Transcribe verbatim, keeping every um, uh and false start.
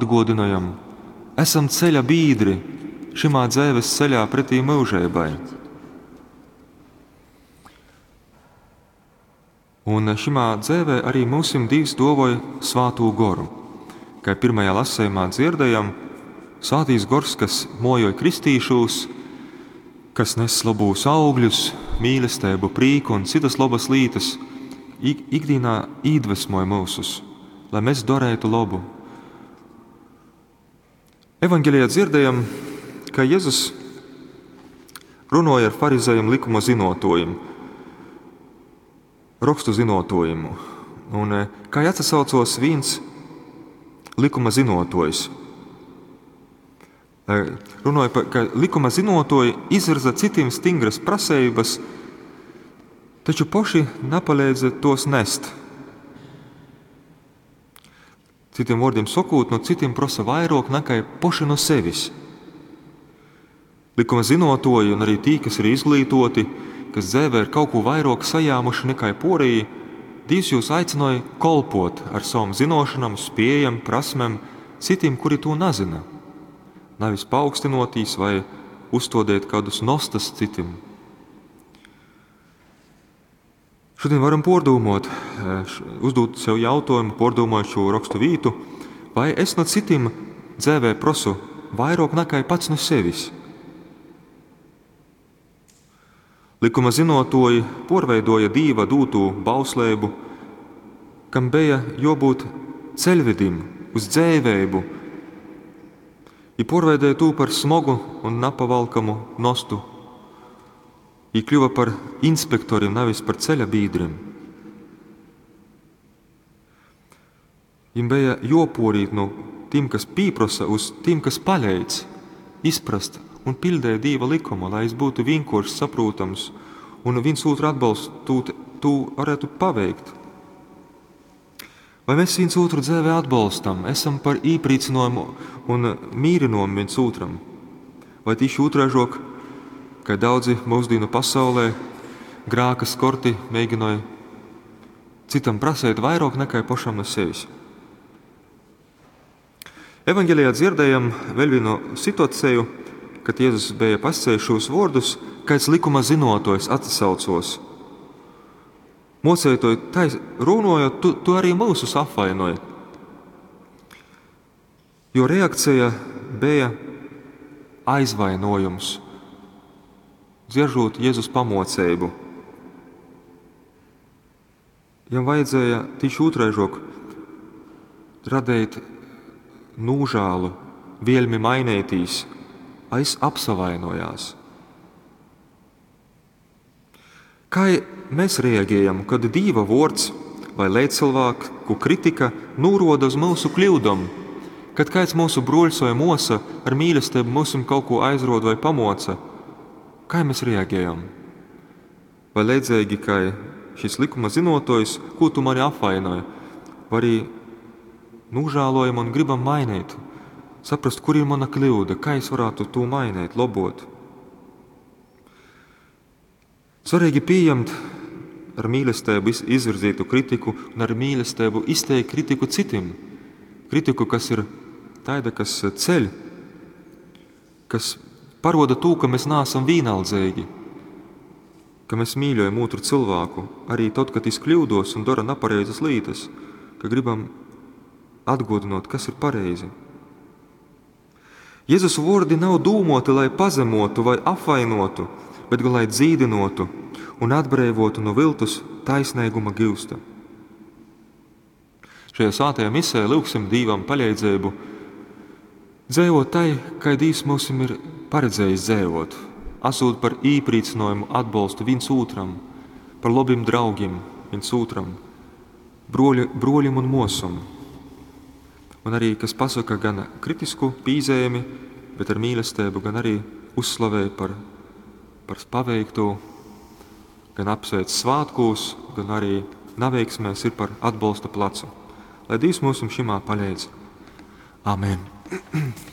atguodynojam, esam ceļa bīdri šimā dzeives ceļā pretī myužeibai. Un šimā dzeivē arī myusim Dīvs duovoj Svātū Goru. Kai pirmajā lasejumā dzierdējam, Svātīs Gors, kas mojoj kristīšūs, kas nes lobūs augļus, mīlestību, prīku un citas lobas lītas, ik ikdīnā īdvesmoj myusus, lai mēs darētu labu. Evanģelijā dzirdējam, ka Jēzus runāja ar farizējiem likuma zinotojiem, rakstu zinotojiem. Un eh, kā atsaucos viens likuma zinotojs. Eh, runāja par, ka likuma zinotoji izvirza citiem stingras prasības, taču poši napalīdza tos nest. Citiem vārdiem sakot, no citiem prasa vairāk nekā poši no sevis. Likuma zinotoji un arī tī, kas ir izglītoti, kas dzēvē ir kaut ko vairāk sajāmuši nekā poriji, Dīvs jūs aicināja kolpot ar savam zinošanam, spējam, prasmēm citiem, kuri to nezina. Nevis paaugstinoties vai uzstādīt kādus nostas citim. Šodien varam pordūmot, eh, uzdot sev jautājumu, pordūmojot šo rakstu vītu, vai es no citiem dzēvē prosu vairāk nekā pats no sevis. Likuma zinotoji porveidoja Dīva dūtū bauslību, kam bija jābūt ceļvedim uz dzēvēbu. I porveidēja tū par smogu un napavalkamu nostu. I kļuva par inspektoriem, nevis par ceļa bīdriem. Viņam bija joporīt no tiem, kas pīprosa, uz tiem, kas paļeic, izprast un pildēja Dīva likumu, lai es būtu vienkāršs, saprotams un viens otru atbalstot, tu varētu paveikt. Vai mēs viens otru dzīvē atbalstam, esam par īprīcinājumu un mīrinājumu viens otram? Vai tieši otrāžok, kā daudzi mūsdienu pasaulē, grāka skorti mēģināja citam prasēt vairāk nekā pašam no sevis? Evanģelijā dzirdējam vēl vienu situāciju, kad Jēzus bija pasacījis šos vārdus, kāds likuma zinotojs atsaucos. Mocētoji, tai runājot, tu, tu arī mūsus apvainoji. Jo reakcija bija aizvainojums, dzieržot Jēzus pamocību. Jam vajadzēja tieši otraižok radīt nūžālu, vielmi mainētīs, aiz apsavainojās. Kā mēs reaģējam, kad Dīva vārds vai līdzcilvēku kritika nūroda uz mūsu kļūdom, kad kāds mūsu bruļs vai mosa ar mīlestību mūsim kaut ko aizrod vai pamoca, kā mēs reaģējam? Vai līdzīgi, kā šis likuma zinotojs, ko tu mani apvainoji, vai arī nožēlojam un gribam mainīt, saprast, kur ir mana kļūda, kā es varētu to mainīt, labot. Svarīgi pieņemt ar mīlestību izvirzītu kritiku un ar mīlestību izteikt kritiku citiem. Kritiku, kas ir tāda, kas ceļ, kas paroda to, ka mēs neesam vienaldzīgi, ka mēs mīļojam otru cilvēku, arī tad, kad viņš kļūdos un dara nepareizas lietas, ka gribam atgodinot, kas ir pareizi. Jēzus vārdi nav dūmoti, lai pazemotu vai apvainotu, bet gan lai dzīdinotu un atbrīvotu no viltus taisnīguma gūsta. Šajā svētajā misē lūgsim Dīvam palīdzību dzīvot tai, kā Dievs mums ir paredzējis dzīvot, esot par īprīcinājumu atbalstu viens otram, par labiem draugiem viens otram, broļu, broļim un mosam. Un arī, kas pasaka gan kritisku pīzēmi, bet ar mīlestību, gan arī uzslavēja par, par paveikto, gan apsveic svētkos, gan arī neveiksmēs ir par atbalsta plecu. Lai Dievs mums šimā palīdz. Amen.